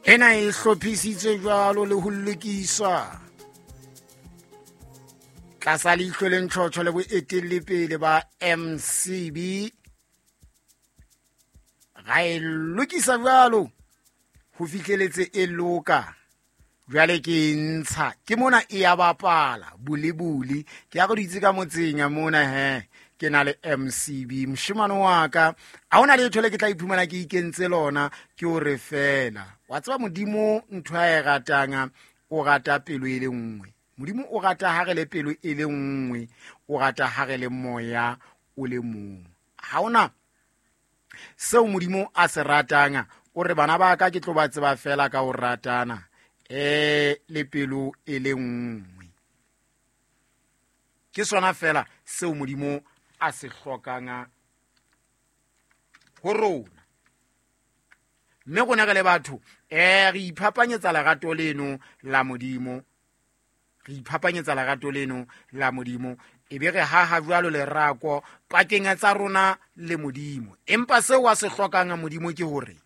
Ena e hlophisitswe jwalo le ho lokiswa tlasa leihlo le ntjhotjho le boetellepele ba MCB. Ra e lokisa jwalo ho fihleletse e loka. Jwale ke e ntsha ke mona e ya bapala bulibuli. Ke ya go ditse ka motseng ya mona he ke na le MCB moshemane wa ka. A hona letho le ke tla iphumana ke ikentse lona, ke o re fela wa tseba Modimo ntho a e ratang, o rata pelo e le nngwe. Modimo o rata ha re le pelo e le nngwe, o rata ha re le moya o le mong. Ha hona seo Modimo a se ratang, o re bana ba ka ke tlo ba tseba fela ka ho ratana le pelo e le nngwe. Ke sona fela seo Modimo a se hlokang ho rona. Mme rona re le batho re iphapanyetsa lerato leno la Modimo, re iphapanyetsa lerato leno la Modimo, e be re haha jwalo lerako pakeng tsa rona le Modimo. Empa seo a se hlokang Modimo ke hore